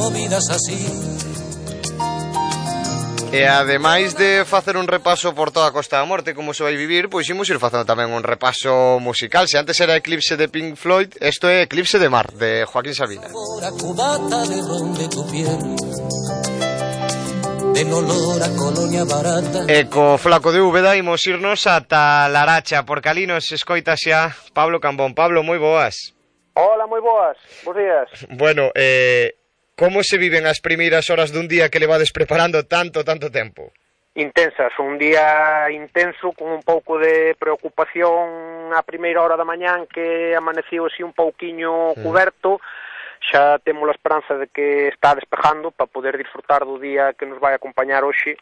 movidas así. E ademais de facer un repaso por toda a Costa da Morte como se vai vivir, pois imos ir facendo tamén un repaso musical. Se antes era Eclipse de Pink Floyd, isto é Eclipse de Mar, de Joaquín Sabina. Cubata de ron de tu piel, de olor a colonia barata. E co flaco de Úbeda imos irnos ata Laracha, porque ali nos escoita xa Pablo Cambón. Pablo, moi boas. Hola, moi boas, bons días. Bueno, como se viven as primeiras horas dun día que levades preparando tanto tempo? Intensas, un día intenso con un pouco de preocupación a primeira hora da mañán que amaneceu así un pouquiño cuberto. Xa temos a esperanza de que está despejando para poder disfrutar do día que nos vai acompañar hoxe.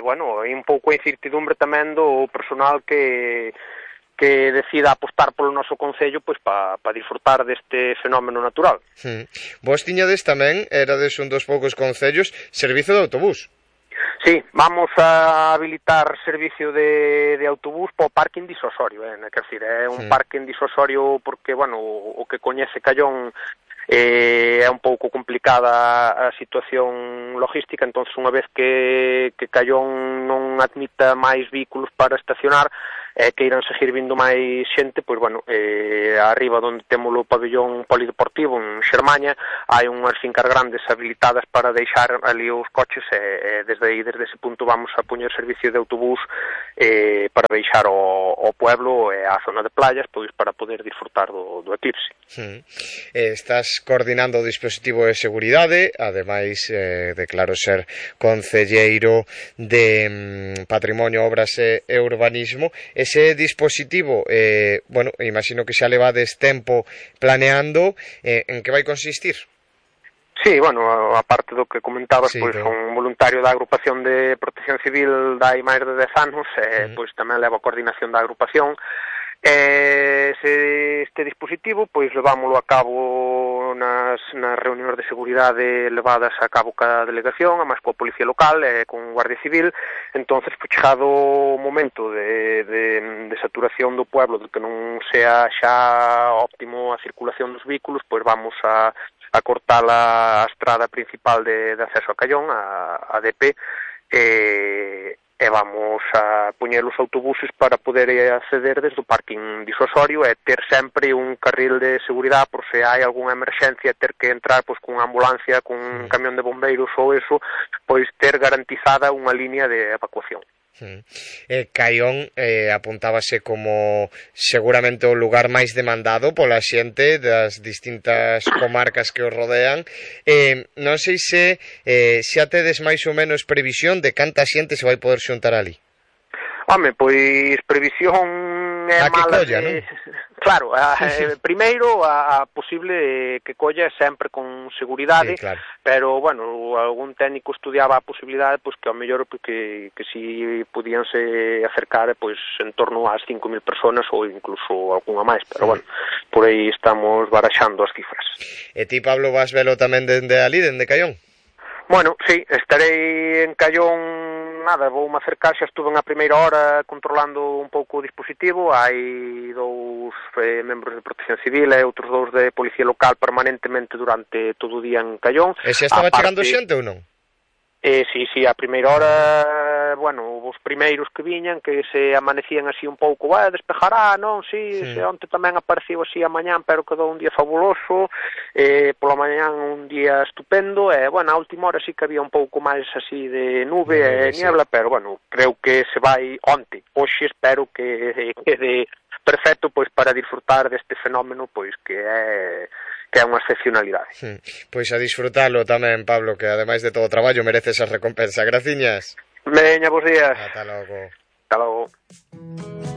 Bueno, e un pouco a incertidumbre tamén do personal que decida apostar polo noso concello pois para disfrutar deste fenómeno natural. Vos tiñades tamén, erades un dos poucos concellos, servizo de autobús. Sí, vamos a habilitar servicio de autobús para o parking disuasorio, quer dizer, é un parking disuasorio porque, bueno, o que coñece Callón é un pouco complicada a situación logística, entonces unha vez que Callón non admita máis vehículos para estacionar, que irán seguir vindo máis xente, pois, bueno, arriba onde temos o pabellón polideportivo en Xermaña, hai unhas fincas grandes habilitadas para deixar ali os coches, desde ese punto vamos a poñer servicio de autobús para deixar o pueblo e a zona de playas, pois para poder disfrutar do eclipse. Estás coordinando o dispositivo de seguridade, ademais de, claro, ser concelleiro de Patrimonio, Obras e Urbanismo. Ese dispositivo, bueno, imagino que xa levades tempo planeando, en que vai consistir? Sí, bueno, aparte do que comentabas, sí, pois un voluntario da agrupación de Protección Civil dai máis de 10 anos, pois tamén leva a coordinación da agrupación. Este dispositivo, pois levámoslo a cabo nas reunións de seguridade levadas a cabo ca delegación, a máis coa Policía Local e con Guardia Civil. Entonces, pois chegado o momento de saturación do pueblo, de que non sea xa óptimo a circulación dos vehículos, pois vamos a cortar a estrada principal de acceso a Callón, a DP, e vamos a poñer os autobuses para poder acceder desde o parking disuasorio e ter sempre un carril de seguridade por se hai algunha emerxencia, ter que entrar pois cunha ambulancia, cun camión de bombeiros ou eso, pois ter garantizada unha línea de evacuación. Caión apuntábase como seguramente o lugar máis demandado pola xente das distintas comarcas que os rodean. Non sei se xa tedes máis ou menos previsión de canta xente se vai poder xuntar ali. Home, pois previsión é mala colla, de... non? Claro, primeiro a posible que colla sempre con seguridade, sí, claro. Pero, bueno, algún técnico estudiaba a posibilidade pois que ao mellor que si podíanse acercar pois en torno ás 5.000 personas ou incluso algunha máis, pero bueno, por aí estamos baraxando as cifras. E ti, Pablo, vas velo tamén dende ali, dende Callón? Bueno, sí, estarei en Callón, nada, voume acercar, xa estuve na primeira hora controlando un pouco o dispositivo, hai dous membros de Protección Civil e outros dous de Policía Local permanentemente durante todo o día en Callón. E xa estaba chegando xente ou non? Sí, a primeira hora, bueno, os primeiros que viñan, que se amanecían así un pouco, despejará, non? Sí. Onte tamén apareceu así a mañán, pero quedou un día fabuloso, pola mañán un día estupendo, e, bueno, a última hora sí que había un pouco máis así de nube e niebla, pero, bueno, creo que se vai onte. Hoxe espero que quede perfecto, pois, para disfrutar deste fenómeno, pois, que é unha excepcionalidade. Pois a disfrutalo tamén, Pablo, que ademais de todo o traballo mereces a recompensa. Graciñas. Veña, bons días. Ata logo. Ata logo.